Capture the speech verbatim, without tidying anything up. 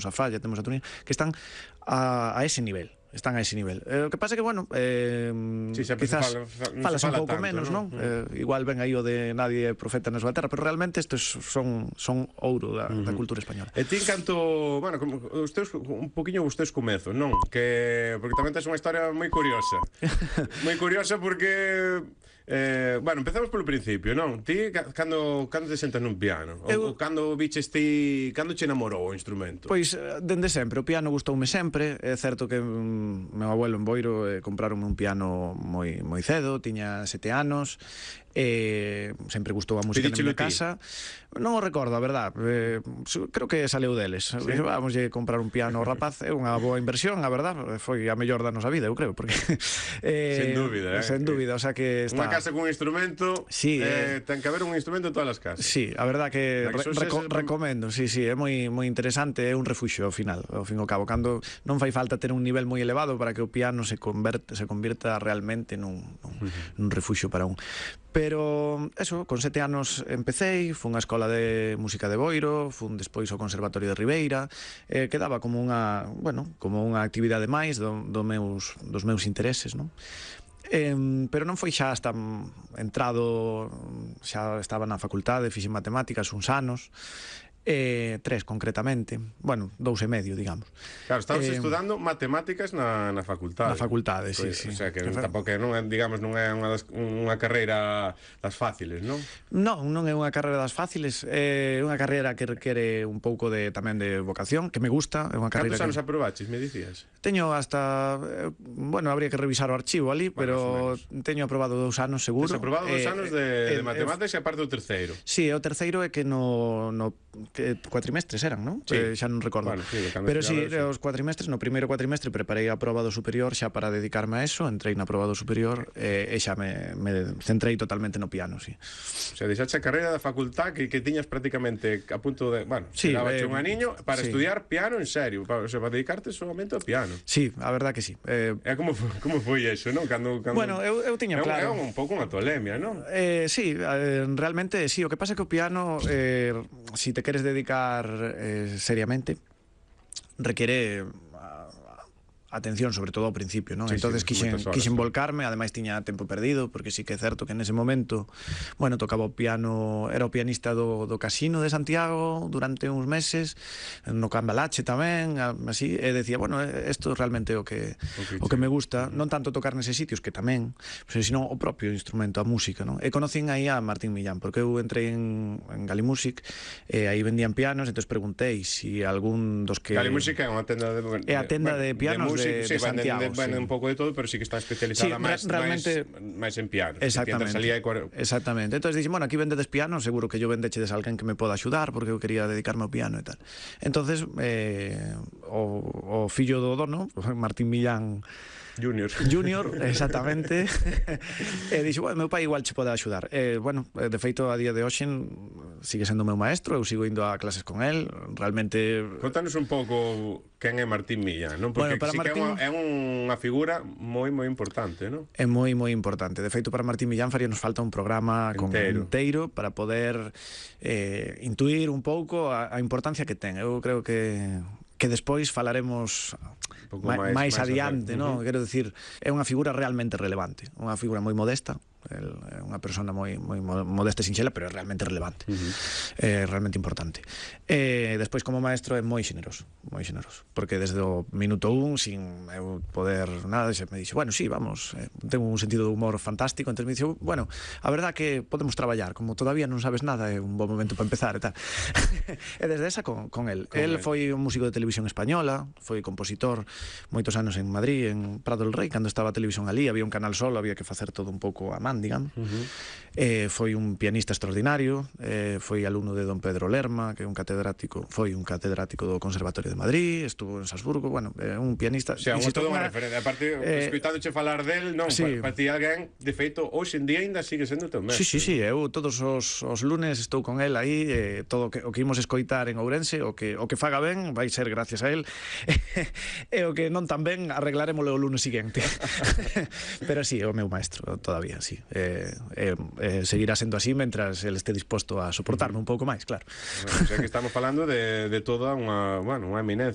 a Falla, temos a Turín, que están a, a ese nivel. Están a ese nivel. Eh, o que pasa é que, bueno, eh, sí, quizás fala, fala, falas fala un pouco tanto, menos, non? ¿no? Eh, igual ven aí o de nadie é profeta na súa terra, pero realmente estes son son ouro da, uh -huh. da cultura española. E ti canto, bueno, como os teus, un poquinho os teus comezos, non? Que porque tamén tes unha historia moi curiosa. Moi curiosa porque Eh, bueno, empezamos polo principio, non? Ti, cando, cando te sentas nun piano? Eu... Ou cando biches ti... Cando che enamorou o instrumento? Pois, dende sempre, o piano gustoume sempre. É certo que mm, meu abuelo en Boiro eh, compraronme un piano moi, moi cedo, tiña sete anos, e sempre gustou a música na miña casa. Non o recordo, a verdad, eh, creo que saleu deles. ¿Sí? Vamos a comprar un piano ao rapaz, é unha boa inversión, a verdad, foi a mellor da nosa vida, eu creo, porque sen eh, dúbida, eh. Sen dúbida, o sea que está... Unha casa con un instrumento, sí, eh, eh... ten que haber un instrumento en todas as casas. Sí, a verdad que, que re reco es... recomendo, sí, sí, é moi moi interesante, é un refuxio ao final, ao fin e ao cabo, cando non fai falta ter un nivel moi elevado para que o piano se converte, se convirta realmente nun, nun, uh -huh. nun refuxio para un. Pero, eso, con sete anos empecéi, fun á escola de música de Boiro, fun despois ao Conservatorio de Ribeira, eh, quedaba como unha, bueno, como unha actividade máis do, do meus, dos meus intereses, non? Eh, pero non foi xa hasta entrado, xa estaba na facultade, fixen matemáticas uns anos, Eh, tres concretamente, bueno, dous e medio, digamos. Claro, estabas eh, estudando matemáticas na, na facultade. Na facultade, pues, sí, sí. O sea, que tampouco non é, digamos, non é unha, das, unha carreira das fáciles, non? Non, non é unha carreira das fáciles, é unha carreira que requere un pouco de tamén de vocación, que me gusta, é unha carreira. Cantos anos que... aprobaches, me dicías? Teño hasta, eh, bueno, habría que revisar o archivo ali, bueno, pero teño aprobado dous anos seguro. Tes aprobado dous eh, anos de, eh, de matemáticas eh, e aparte o terceiro. Sí, o terceiro é que no, no que cuatrimestres eran, non? Sí. Eh, xa non recordo. Bueno, sí, pero si, sí, sí. os cuatrimestres, no primeiro cuatrimestre preparei a aprobado superior xa para dedicarme a eso, entrei na aprobado superior eh, e xa me, me centrei totalmente no piano, sí. O sea, deixaste a carreira da facultad que, que tiñas prácticamente a punto de, bueno, sí, dabache eh, un aniño para sí. estudiar piano en serio, para, o sea, para dedicarte solamente ao piano. Sí, a verdad que sí. Eh, é como, como foi eso, non? Cando, cando... Bueno, eu, eu tiña claro. É un, un pouco unha tolemia, non? Eh, sí, eh, realmente sí, o que pasa é que o piano, eh, si te queres dedicar eh, seriamente, requiere atención, sobre todo ao principio, non? Sí, entonces sí, quixen, horas, quixen sí. volcarme, ademais tiña tempo perdido, porque sí que é certo que nese momento, bueno, tocaba o piano, era o pianista do, do Casino de Santiago durante uns meses, no Cambalache tamén, así, e decía, bueno, isto realmente é o que okay, o que me gusta, non tanto tocar neses sitios, que tamén, sino o propio instrumento, a música, non? E conocín aí a Martín Millán, porque eu entrei en, en Galimúsic, e aí vendían pianos, entón preguntei si algún dos que... Galimúsic é unha tenda de... É a tenda bueno, de pianos de De, sí, de Santiago, venden, venden sí. un pouco de todo, pero sí que está especializada sí, máis, realmente, máis, máis en pianos. Exactamente. Si exactamente. Entonces dixen, bueno, aquí vendedes pianos, seguro que yo vendechedes a alguén que me poda axudar, porque eu quería dedicarme ao piano e tal. Entonces, eh, o, o fillo do dono, Martín Millán Junior. Junior, exactamente. E dixo, bueno, meu pai igual che pode axudar. Eh, bueno, de feito, a día de hoxe sigue sendo meu maestro, eu sigo indo a clases con el, realmente... Contanos un pouco quen é Martín Millán, non? Porque bueno, para sí Martín... que é unha, unha figura moi, moi importante, non? É moi, moi importante. De feito, para Martín Millán faría nos falta un programa enteiro, con, inteiro para poder eh, intuir un pouco a, a importancia que ten. Eu creo que... que despois falaremos máis, máis adiante, non? Uh -huh. Quero dicir, é unha figura realmente relevante, unha figura moi modesta, é unha persona moi, moi modesta e sinxela, pero é realmente relevante, uh -huh. é realmente importante. E despois, como maestro, é moi xeneroso, moi xeneroso, porque desde o minuto un, sin eu poder nada, me dixe, bueno, sí, vamos, eh, tengo un sentido de humor fantástico, entón me dixe, bueno, a verdad que podemos traballar, como todavía non sabes nada, é un bom momento para empezar e tal. E desde esa con, con el. Con el foi un músico de televisión española, foi compositor moitos anos en Madrid, en Prado del Rei, cando estaba a televisión ali, había un canal solo, había que facer todo un pouco a man, digamos. Uh -huh. eh, foi un pianista extraordinario, eh, foi alumno de don Pedro Lerma, que é un catedrático, foi un catedrático do Conservatorio de Madrid, estuvo en Salzburgo, bueno, é eh, un pianista... O sea, insisto, toda unha referencia, aparte, eh, escuitándoche falar del, non, sí. para, para ti alguén, de feito, hoxe en día ainda sigue sendo teu mestre. Sí, sí, sí, eu todos os, os lunes estou con el aí, eh, todo que, o que imos escoitar en Ourense, o que, o que faga ben, vai ser gracias a él, e o que non tan ben arreglarémolo o lunes seguinte. Pero sí, é o meu maestro todavía, sí. Eh, eh, eh, seguirá sendo así mentras el este disposto a soportarme un pouco máis, claro. Bueno, o sea que estamos falando de, de toda unha, bueno, unha eminencia